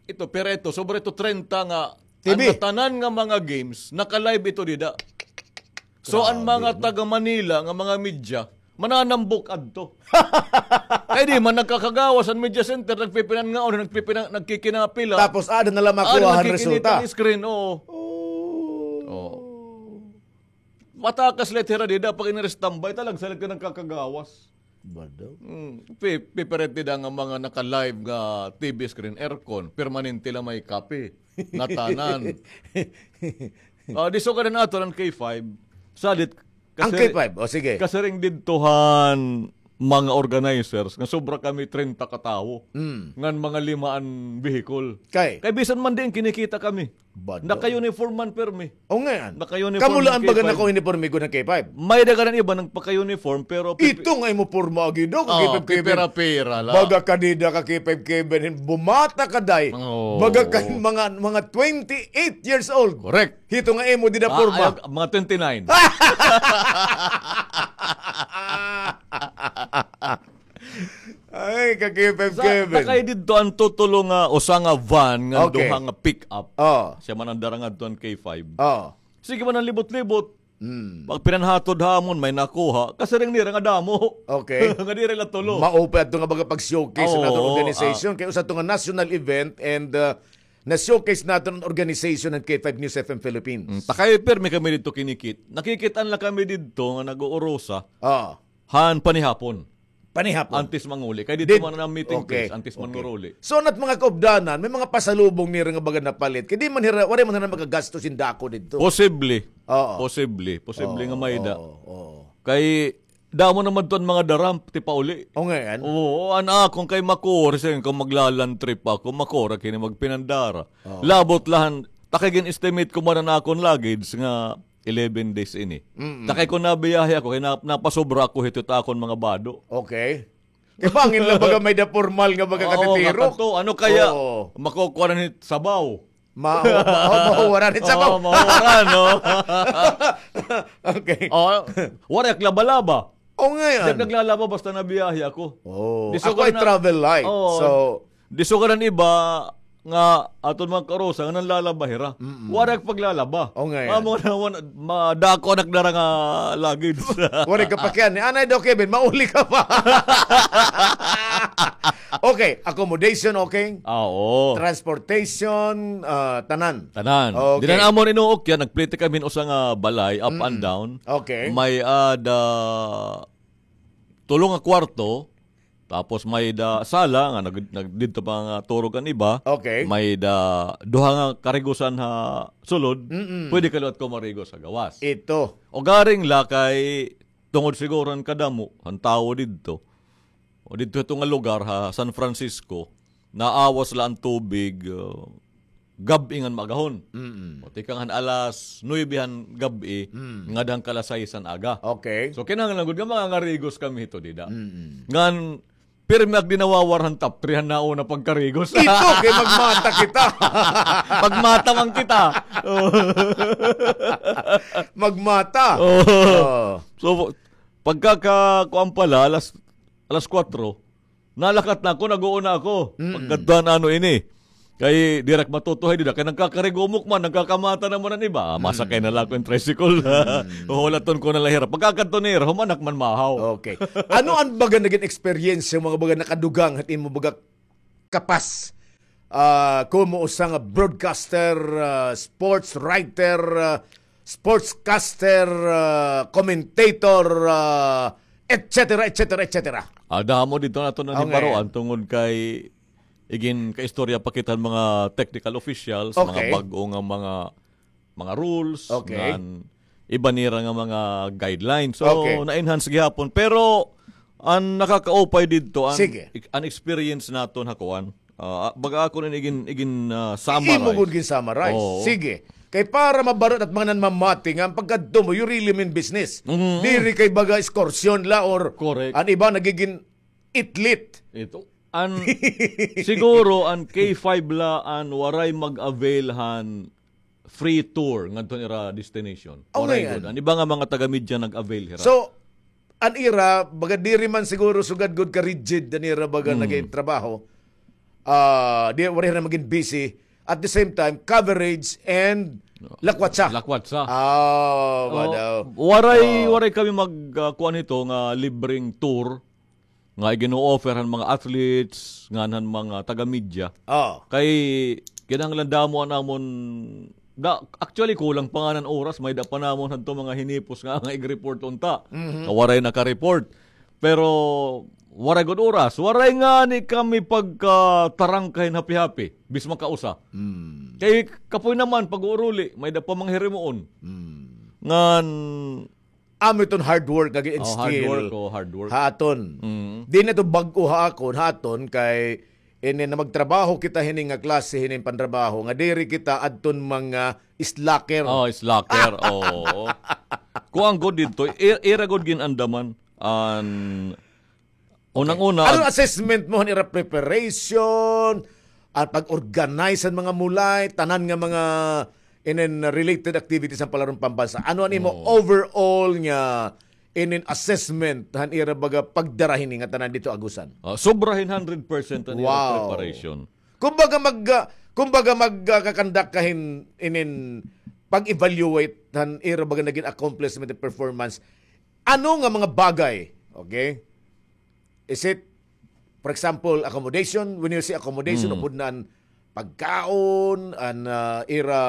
ito, pero ito, sobra ito treinta nga, T V. Ang tanan nga mga games, naka-live ito dida. So, ang Grabe, mga no? taga Manila nga mga media, mananambok adto. Kay di man nagkakagawas ang media center, nagpipinangaon, nagpipinang-, nagkikinapila. Tapos, ada na lang Ada makuha ang nagkikinita resulta. ang screen, oo. Oh. Oo. Matakas la it hira dida, pag inira standby, talagsa la ka nagkakagawas. Ba daw? Hmm, pi-, pipirit dida nga mga naka-live nga T V screen, aircon, permanente la may kape. Ngatanan. Ah, di so ka na ato ng K five. Salit, Ang kasi K five, o sige. Kasiring didto han mga organizers nga sobra kami treinta ka tawo. Mm. Ngan mga lima an vehicle. Kay? Kay bisan man diin kinikita kami. Bado. Naka-uniform man permi. O, ngayon. Naka-uniform Kamo lang ang baga K five. Naka-uniform, migo ng K five. May-ada kanan iba nagpaka-uniform, pero pipi- Ito nga imo porma, agi, do, ka Oo, K five Kevin. Pipira-pira la. Baga ka dida ka K five Kevin, bumata ka, day. Oo. Baga ka mga, mga twenty-eight years old. Correct. Hito nga imo dida Ah, porma. Ay, mga twenty-nine. Ay, ka K five Sa, Kevin. Sakay didto an tutulo nga usa nga van nga Okay. duha nga pick-up. Oh. Siya man an dara ngadto an K five. Oh. Sige man an libot-libot. Hmm. Pag pinanhatod ha amon, may nakuha. Kasiring nira nga damo. Okay. Nga diri la tulo. Maupay adto nga baga pag-showcase Oo, sa aton organization. ah. Kay usa to nga national event and, uh, na-showcase naton an organization ng K five News F M Philippines. Mm, takay permi kami didto kinikit. Nakikit-an la kami didto nga nag-uurusa. Ah. Han panihapon. Panihapon. Antes manguli. Kay didto Did-, man an meeting okay, place, antes man okay. manguli. So, nat mga kaupdanan, may mga pasalubong nira nga baga napalit. Kay di man hira, waray man hira magagasto sin dako didto. Posible. Oo. Posible. Posible Oo, nga may da. oo, oo. Kay damo naman to an mga daram, ti pauli. O, ngayon? Oo, an akon kay makuri, siring ko magla-land trip ako, makuri kini magpinandara. Oo. Labot la han, takay gin-estimate ko man an akon luggage nga eleven days ini. Mm-mm. Takay ko nabiyahe ako, kay na-, napasobra ako hito ta akon mga bado. Okay. Kay bangin la baga may da pormal nga baga Oo, katitiro. nga kato. Ano kaya? Oo. Makukuha na ni sabaw. Ma-, ma-, ma-, mahuwaran ni sabaw. Oo, mahuwaran, no? Okay. Oh, waray ak laba-laba. O, ngayon. Di ak naglalaba basta nabiyahe ako. Oh, Di ako ay sugar na travel light. Oo. So, Di sugaran iba nga aton mga karusa nga nanlalaba hira. Mm-mm. Waray paglalaba. O, nga yan. Amo na, wan-, madako anak dara nga luggage. Waray ka pakian. Anay daw, Kevin, mauli ka pa. Okay, accommodation, okay? Ah, oo. Transportation, ah, tanan. Tanan. Okay. Dinan amon inuok yan, nagplete kami hin usa nga balay, up and Mm-mm. down. Okay. May ada tulo nga kwarto, tapos may da sala nga nag-, nag-, didto pa nga turog an iba. Okay. May da duha nga karigusan ha sulod. Mm-mm. Pwede ka liwat ko marigos ha gawas. Ito. O garing la kay tungod siguro han kadamo han tawo didto. O didto ito nga lugar ha San Francisco. naawas la an tubig, uh, gab-i ngan maagahon. Mm. O, tikang han alas nuebe han gab-i, Mm. ngada han kalas sais han aga. Okay. So, kinahanglan gud nga mangangarigos kami hito dida. Mm. Ngan, pirmi ak di nawawar han top three han nauna pagkarigos. Ito, kay magmata kita. Magmata man kita. Oh. Magmata. Oh. Oh. So, pagkaka-, kuan pala, alas, alas kwatro, nalakat na ako, nag-uuna ako. Mm. Pagkadtuan ano ini. Kay diri ak matutuhay dida, kay nagkakarigumok man, nagkakamata naman an iba. Ah, masakay na la ako hin tricycle. Mm. Huhulaton ko na la hira. Pagkakadto nira, humanak man mahaw. Okay. Ano an baga nagin experience, mga baga nakadugang, hat imo baga kapas? Ah, komo usa nga broadcaster, ah, sports writer, ah, sportscaster, ah, commentator, ah, et cetera, et cetera, et cetera. Ah, damo didto naton nahibaroan tungod kay igin kaistorya pa kita han mga technical officials, mga bag-o nga mga, mga rules, ngan iba nira nga mga guidelines. So, na-enhance gihapon. Pero, an nakakaupay didto, an, an experience naton ha kuan. Ah, baga ako rin igin, igin, ah, summarize. Imo gud gin-summarize. Oo. Sige. Kay para mabarot at mga nanmamati nga, an pagkadto mo, you really mean business. Mm. Diri kay baga excursion la or an iba nagigin itlit. Ito. An, siguro, an K five la, an waray mag-avail han free tour ngadto han ira destination. Waray gud. An iba nga mga taga-media nag-avail hira. So, an ira, baga diri man siguro sugad gud ka-rigid an ira baga nagin trabaho. Ah, di, waray hira magin busy. At the same time, coverage and lakwatsa. Lakwatsa. Ah, waray, waray kami mag, ah, kuan hito nga libreng tour nga igin-o-offer han mga athletes, ngan han mga taga-media. Kay kinahanglan damo an amon, da, actually, kulang pa ngani an oras, may-ada pa namon hadto mga hinipos nga, nga ig-report unta. Nga waray naka-report. Pero waray gud oras, waray ngani kami pagkatarangka hin hapi-hapi, bis makausa. Kay kapoy naman, pag-uuruli, may-ada pa mga hirimuon. Ngan Amo iton hard work nga gin-instill. Oh, hard work, oh, hard work. Ha aton. Mm. Di na ito bag-o ha akon, ha aton, kay ini na magtrabaho kita hini nga klase, hini panrabaho, nga diri kita adton mga slacker. Oh, slacker, oo. Kuan gud didto, i-, ira gud gin-andaman, an Unang-una, ano an assessment mo han ira preparation, an pag-organize han mga mulay, tanan nga mga inin related activities han Palaron Pambansa? Ano an imo overall nga inin assessment han ira baga pagdara hini nga tanan didto Agusan? Ah, sobra hin hundred percent an ira preparation. Kumbaga mag, ah, kumbaga mag, ah, kakandak ka hin inin pag-evaluate han ira baga nagin accomplishment and performance. Ano nga mga bagay, okay? Is it, for example, accommodation? When you say accommodation, upod na an pagkaon, an, ah, ira,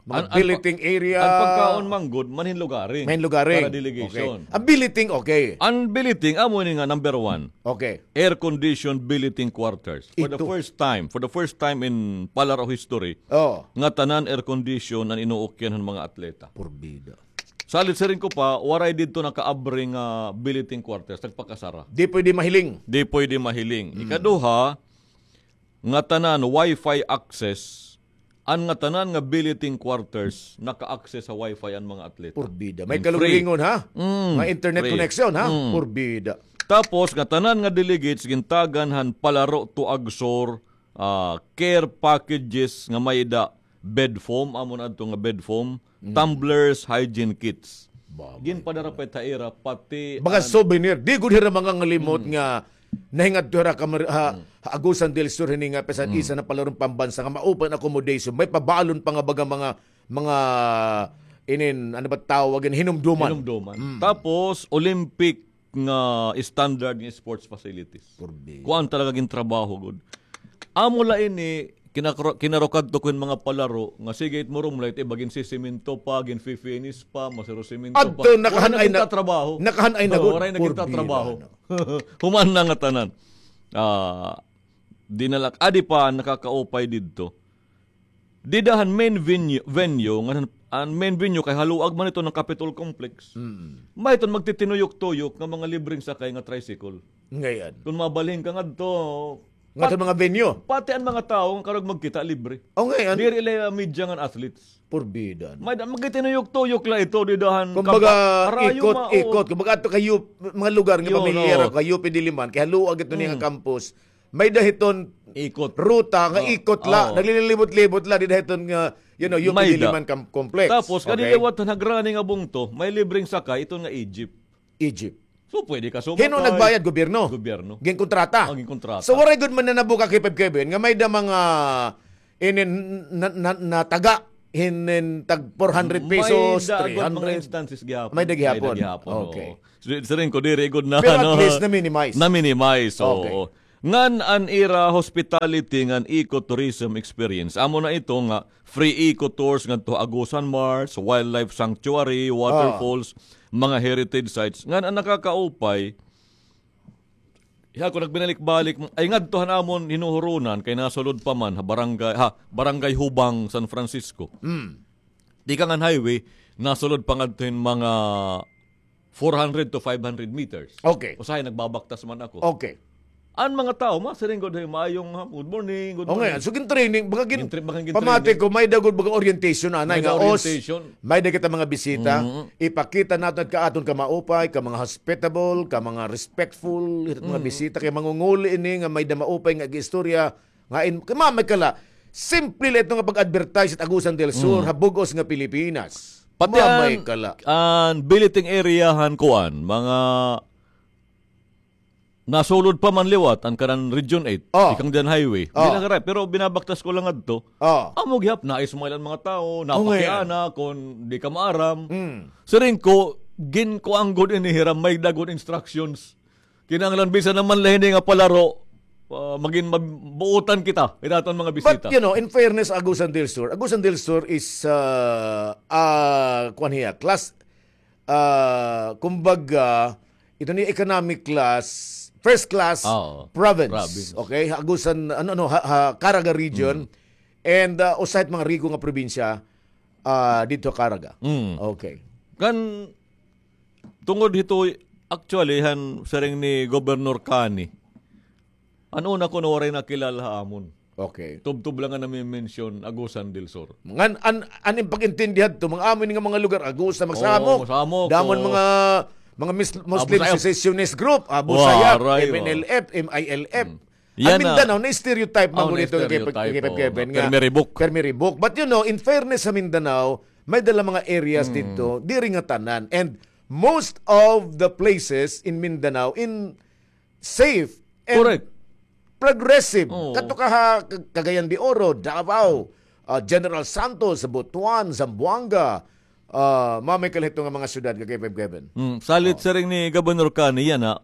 mga billeting area. An pagkaon man gud, manhinlugaring. Manhinlugaring. Para delegation. Okay. An billeting, okay. An billeting, amo ini nga number one. Okay. Air-conditioned billeting quarters. For the first time, for the first time in Palaro history, nga tanan air-condition an inuukyan han mga atleta. Purbida. Salit siring ko pa, waray didto nakaabri nga billeting quarters, nagpakasara. Di pwede mahiling. Di pwede mahiling. Mm. Ikaduha, nga tanan, Wi-Fi access, an nga tanan nga billeting quarters, naka-access ha Wi-Fi an mga atleta. Purbida. May kalugaringon, ha? Mm, may internet connection, ha? Mm. Purbida. Tapos, nga tanan nga delegates, gintagan han Palaro to Agsor, ah, care packages nga may-ada bed foam, amo na adto nga bed foam, tumblers, hygiene kits. Ginpadara pa it ha ira, pati baga souvenir. Di gud hira mangangalimot nga nahingadto hira ha, ha Agusan del Sur hini nga pisan isa na Palaron Pambansa nga maupay an accommodation. May pabalon pa nga baga mga, mga inin, ano ba tawag, hinumduman. Hinumduman. Mm. Tapos, Olympic nga standard nga sports facilities. Kuan talaga gintrabaho gud. Amo la ini, kinakro-, kinarukadto ko hin mga palaro nga sige it mo rumlay, it iba ginsisimento pa, ginfi-finish pa, masiro simento pa. Adto, nakahan-ay na, nakahan-ay na gud. Waray na kita trabaho. Human na nga tanan. Ah, di na la, adi pa nakakaupay didto. Dida han main venue, venue, nga han, an main venue kay haluag man iton han Capitol Complex. Mm. May iton magtitinuyok-tuyok nga mga libreng sakay nga tricycle. Ngay-an. Kon mabalhin ka ngadto, Ngadto mga venue. Pati an mga tawo nga karuyag magkita, libre. O, ngay-an. Diri la media ngan athletes. Purbida, no? May da, magtinuyok-tuyok la ito, dida han Kumbaga, kaba-, harayo ikot, mao. Ikot. Kumbaga, adto kay U P, mga lugar nga pamilyar ako, kay U P Diliman, kay haluag ito niya nga campus. May da hiton ruta nga ikot la, naglilibot-libot la, dida hiton nga, you know, U P Diliman com-, complex. Tapos, kadi liwat han hagrani nga bungto, may libreng sakay, iton nga Egypt. Egypt. So, pwede ka sumakay. Hin-o nagbayad? Gobyerno? Gobyerno. Ginkontrata? Ah, ginkontrata. So, waray gud man nanabo ka, K five Kevin, nga may da mga inin na, na, nataga, hinin tag four hundred pesos, three hundred. May da gud mga instances gihapon. May da gihapon. May da gihapon, oo. Okay. Siring ko, diri gud na, ano, na-minimize. Pero at least na-minimize, oo. Okay. Ngan an ira hospitality ngan ecotourism experience. Amo na ito nga free eco tours ngadto ha Agusan Marsh, wildlife sanctuary, waterfalls, mga heritage sites. Ngan an nakakaupay, ako nagbinalik-balik, ay ngadto han amon hinuhurunan kay nasulod pa man ha barangay, ha, Barangay Hubang, San Francisco. Mm. Tikang han highway, nasulod pa ngadto hin mga four hundred to five hundred meters. Okay. Usahay nagbabaktas man ako. Okay. An mga tawo, masiring gud, "Hey, maayong hapon, good morning, good morning." Okay, so gin-training, baga gin-, pamati ko, may da gud baga orientation, anay nga, os, may da kita mga bisita, ipakita naton ka aton ka maupay, ka mga hospitable, ka mga respectful, mga bisita, kay mangunguli ini nga may da maupay nga ag-istorya, nga in, kay mamay ka la, simple la ito nga pag-advertise it Agusan del Sur, ha bug-os nga Pilipinas. Pati mamay ka la. An billeting area han kuan, mga nasulod pa man liwat, an kanan Region eight, tikang dida han highway. Diri na karay, pero binabaktas ko la ngadto. Amo gihap, na-smile an mga tawo, napakiana, kon di ka maaram. Siring ko, ginkuan gud ini hira, may da gud instructions. Kinahanglan bisan naman la hini nga palaro, ah, magin mab-, buotan kita, it aton mga bisita. But, you know, in fairness, Agusan del Sur, Agusan del Sur is, ah, ah, kuan hiya, class, ah, kumbaga, ito ni economic class, first class province. Province. Okay? Agusan, ano, ano, ha, ha, Caraga region. And, ah, usa it mga riko nga probinsya, ah, didto Caraga. Okay. Kan, tungod hito, actually, han siring ni Governor Cani, an una kuno waray nakilala ha amon. Okay. Tubtob la nga nami-mention Agusan del Sur. Ngan, an, an im pag-intindi hadto, mga amo ini nga mga lugar, Agusan, Magsamok. Oo, Magsamok, damo an mga, mga mis-, Muslim secessionist group, Abu Sayyaf, M N L F, M I L F. An Mindanao, na-stereotype man gud ito kay Kevin nga permi ribok. Permi ribok. But, you know, in fairness sa Mindanao, may da la mga areas didto, diri nga tanan. And most of the places in Mindanao, in safe and progressive. Oo. Kadto ka ha Cagayan de Oro, Davao, ah, General Santos, Butuan, Zamboanga, ah, mamay ka la hito nga mga syudad nga Kevin. Salit siring ni Governor Cani yana,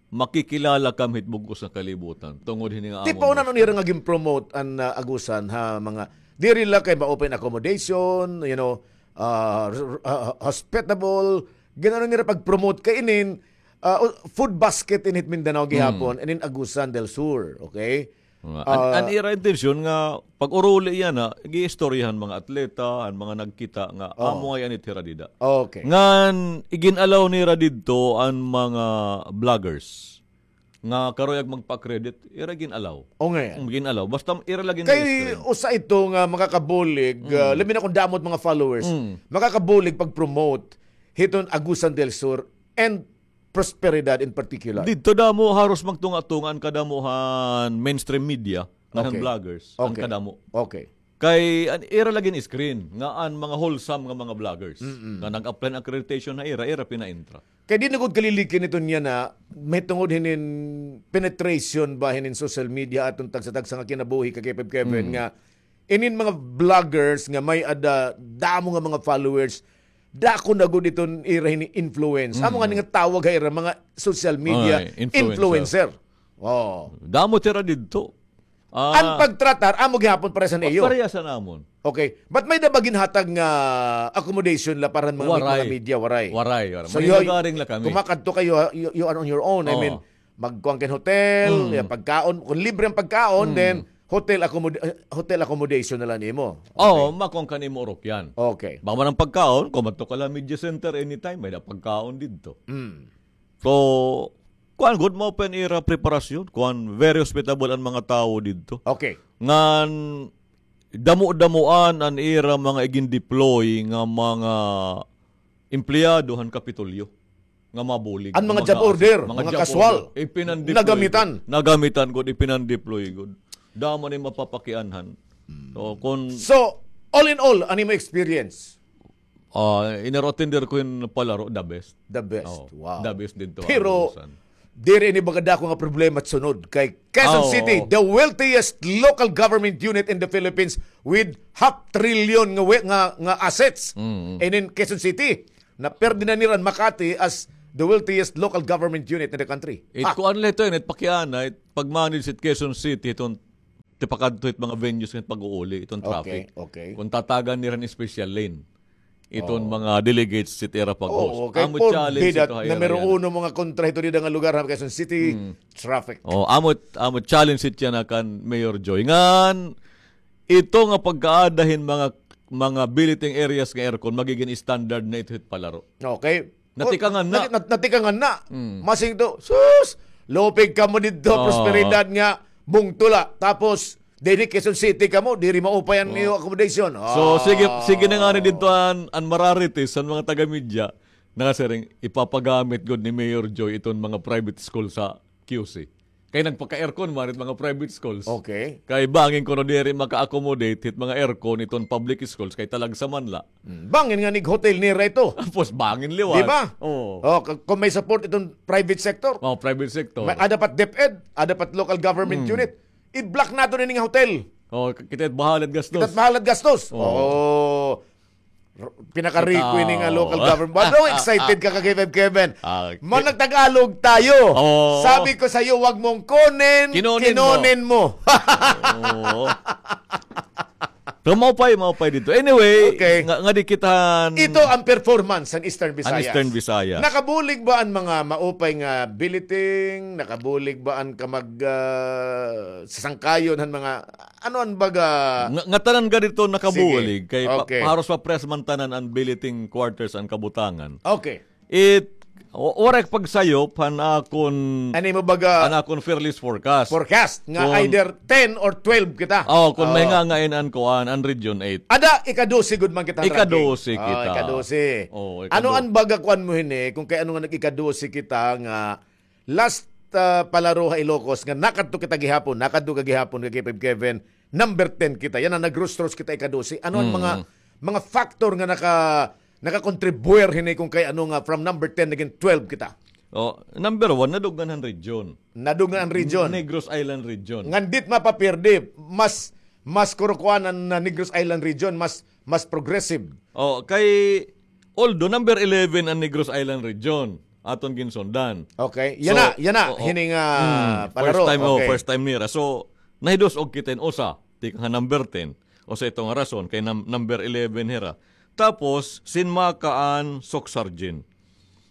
makikilala kami hit bug-os nga kalibutan. Tungod hini nga amo. Tipaw na, ano nira nga gin-promote an, ah, Agusan ha mga, diri la kay ma-open accommodation, you know, ah, r-, r-, ah, hospitable, gin-ano nira pag-promote kay inin, ah, food basket in hit Mindanao gihapon, inin Agusan del Sur, okay? Nga, an, ah, an ira intensyon nga pag-uruli yana, giistoryahan mga atleta, an mga nagkita nga, amo ngay-an it hira dida. Okay. Ngan, igin-allow nira didto an mga vloggers nga karuyag magpa-credit, ira gin-allow. O, ngay-an. Mm, gin-allow. Basta ira la gin-i-screen. Kay usa ito nga makakabulig, ah, labi na kon damo it mga followers, makakabulig pag-promote hiton Agusan del Sur and prosperidad in particular. Didto damo haros magtunga-tunga an kadamo han mainstream media, ngan han vloggers, an kadamo. Okay. Kay an ira la gin-screen nga an mga wholesome nga mga vloggers nga nag-apply hin accreditation ha ira, ira pina-entra. Kay di na gud kalilikin iton yana, mahitungod hinin penetration ba hinin social media aton tagsa-tagsa nga kinabuhi ka Kevin, Kevin, nga inin mga vloggers nga may-ada damo nga mga followers, dako na gud iton ira hini influence. Amo ngani nga tawag ha ira mga social media influencer. Influencer. Oo. Damo it ira didto. Ah, an pagtratar, amo gihapon parehas han iyo. Parehas han amon. Okay. But may-ada ba ginhatag nga accommodation la para han mga, mga media? Waray. Waray, waray. So, may lugaring la kami. Kumakadto kayo, you, you are on your own. I mean, magkuan ka hin hotel, ya, pagkaon. Kon libre an pagkaon, then hotel accommoda-, eh, hotel accommodation na la nimo. Okay. Oo, makuan ka nimo urok yan. Okay. Bangman an pagkaon, kumadto ka la media center anytime, may-ada pagkaon didto. So, kuan gud, maupay an ira preparasyon. Kuan, very hospitable an mga tawo didto. Okay. Ngan damo-damoan an ira mga igin-deploy nga mga empleyado han Kapitolyo nga mabulig. An mga job order, mga kaswal. Ipinan-deploy gud. Nagamitan gud, ipinan-deploy gud. Damo ni mapapakianhan. So, kun So, all in all, ano imo experience? Ah, inaro-attender ko hin palaro, the best. The best. Oo, wow. The best didto. Pero, diri ini baga dako nga problema sunod kay Quezon City, the wealthiest local government unit in the Philippines with half trillion nga we-, nga, nga assets. Mm. And in Quezon City, naperde na nira an Makati as the wealthiest local government unit in the country. It kuan la ito, it pakiana, it pag-manage it Quezon City, iton tipakadto hit mga venues ngan pag-uuli, iton traffic. Okay, okay. Kun tatagan nira hin special lane iton mga delegates hit ira pag-host. Oo, kay amo challenge ito ha ira numero uno mga kontra hito dida nga lugar ha Quezon City, traffic. Oh, amo, amo challenge hit yana kan Mayor Joy. Ngan ito nga pagkaada hin mga, mga billeting areas nga aircon magigin standard na ito hit palaro. Okay. Natikangan na. Nati-, nat-, natikangan na. Mm. Masing to, sus, lupig kamo didto, prosperidad nga bungto la. Tapos, diri Quezon City kamo, diri maupay an iyo accommodation. So, sige, sige na ngani didto an, an Mararites, an mga taga-media, nasiring, ipapagamit gud ni Mayor Joy iton mga private school sa Q C. Kay nagpaka-aircon man it mga private schools. Okay. Kay bangin kuno diri maka-accommodate hit mga aircon iton public schools kay talagsa man la. Mm. Bangin nga nig-hotel nira ito. Tapos bangin liwat. Di ba? Oo. Oh, k-, kung may support itong private sector. Oh, private sector. May, ada pa't DepEd, ada pa't local government unit. I-block naton ini nga hotel. Oh, k-, kita it bahala it gastos. Kita it bahala it gastos. Oh. Oh. R-, pinakarico ini nga local government. Ano, excited ka, ka K five Kevin? Okay. Managtagalog tayo. Oh. Sabi ko sa'yo, wag mong kunin, kinonin mo. Oo. Pero maupay, maupay didto. Anyway, nga, nga di kita. Ito ang performance ng Eastern Visayas. Nakabulig ba ang mga maupay nga billeting? Nakabulig ba ang kamag, ah, sasangkayon han mga, ano an baga? Nga, nga tanan gad ito nakabulig. Sige. Kay pa-, haros paparehas man tanan an billeting quarters an kabutangan. Okay. It, wa-, waray pagsayop han akon, ano mo baga, han akon fearless forecast. Forecast nga either ten or twelve kita. Oh, kung may nga ngayon an kuan, an Region eight. Ada, ika-dose gud man kita, ika-dose kita. Oh, ika-dose. Oh, ika-dose. Ano an baga kuan mo hini, kung kay ano nga nag-ika-dose kita nga last, ah, palaro ha Ilocos nga nakadto kita gihapon, nakadto ka gihapon kay Kevin, number ten kita. Yana, nagrostros kita ika-dose. Ano an mga, mga factor nga naka-, nakakontribuir hini kung kay ano nga from number ten nagin twelve kita? Oh, number one, nadugnan han region. Nadugnan an region. Negros Island region. Ngan dit mapapirdi, mas, mas kurukuan an, ah, Negros Island region, mas, mas progressive. Oh, kay, although number eleven an Negros Island region, aton ginsundan. Okay. Yana, yana, hining, ah, palaro. First time, oh, first time nira. So, nahidus-og kita hin usa, tikang ha number ten. Usa ito nga rason, kay num-, number eleven hira. Tapos, sinmaka an Soc-Sargen.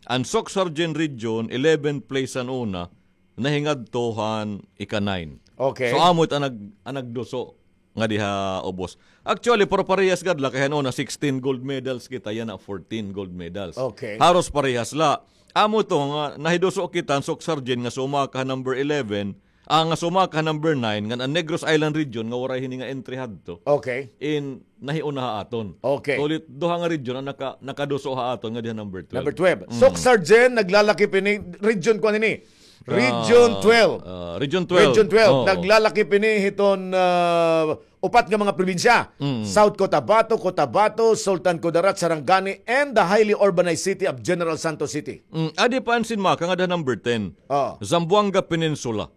An Soc-Sargen region, eleven place an una, nahingadto han ika-nine. Okay. So, amo it an nag-, an nagduso ngadi ha ubos. Actually, pero parehas gad la kay han una sixteen gold medals kita, yana fourteen gold medals. Okay. Haros parehas la. Amo ito nga nahiduso kita han Soc-Sargen nga sumaka han number eleven, ah, nga sumaka han number nine, ngan an Negros Island region nga waray hini nga entry hadto. Okay. In nahiuna ha aton. Okay. Sulit duha nga region an naka-, nakaduso ha aton ngadi ha number twelve. Number twelve. Mm. Soc-Sargen, naglalakip ini, region kuan ini. Region twelve. Ah, Region twelve. Region twelve. Oo. Naglalakip ini hiton, ah, upat nga mga probinsya. Mm. South Cotabato, Cotabato, Sultan Kudarat, Sarangani, and the highly urbanized city of General Santos City. Mm, adi pa an sinmaka ngada number ten. Oo. Zamboanga Peninsula.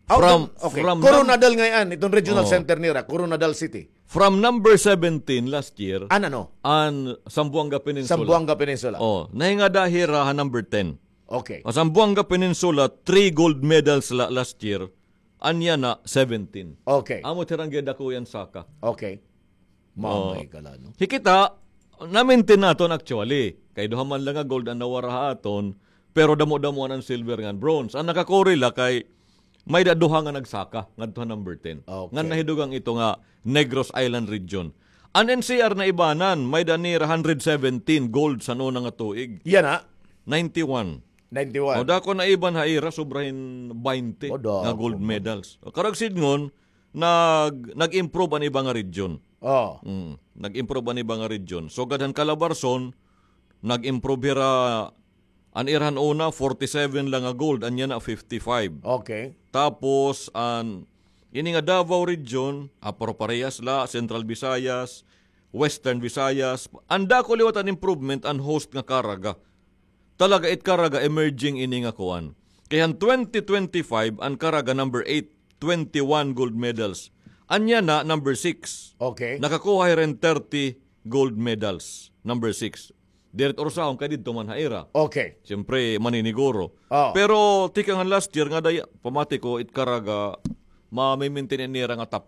From, okay. Coronadal ngay-an, iton regional center nira, Coronadal City. From number seventeen last year, an ano? An Zamboanga Peninsula. Zamboanga Peninsula. Oh, nahingada hira ha number ten. Okay. An Zamboanga Peninsula, three gold medals la last year. An yana, seventeen. Okay. Amo it hira nga gindako yana saka. Okay. Mamay ka la, no? Hikita, na-maintain naton actually. Kay duha man la nga gold an nawara ha aton, pero damo-damoan an silver ngan bronze. An nakakuri la kay may-ada duha nga nagsaka ngadto ha number ten. Okay. Ngan nahidugang ito nga Negros Island region. An N C R naibanan, may-ada nira hundred seventeen gold sa una nga tuig. Yana. Ninety-one. Ninety-one. O, dako na iban ha ira, sobra hin baynte nga gold medals. O, karuyag sidngon, nag-, nag-improve an iba nga region. Oh. Mm, nag-improve an iba nga region. Sugad han Calabarzon, nag-improve hira, an ira han una, forty-seven la nga gold, ania na fifty-five. Okay. Tapos, an, ini nga Davao region, ah, paro-parehas la, Central Visayas, Western Visayas, an dako liwat an improvement, an host nga Caraga. Talaga it Caraga emerging ini nga kuan. Kay han twenty twenty-five, an Caraga number eight, twenty-one gold medals. Ania na number six. Okay. Nakakuha hira hin thirty gold medals. Number six. Diri it ursahon kay didto man ha ira. Okay. Siyempre, maniniguro. Oh. Pero tikang han last year ngada, pamati ko, it Caraga, ma-maintain nira nga top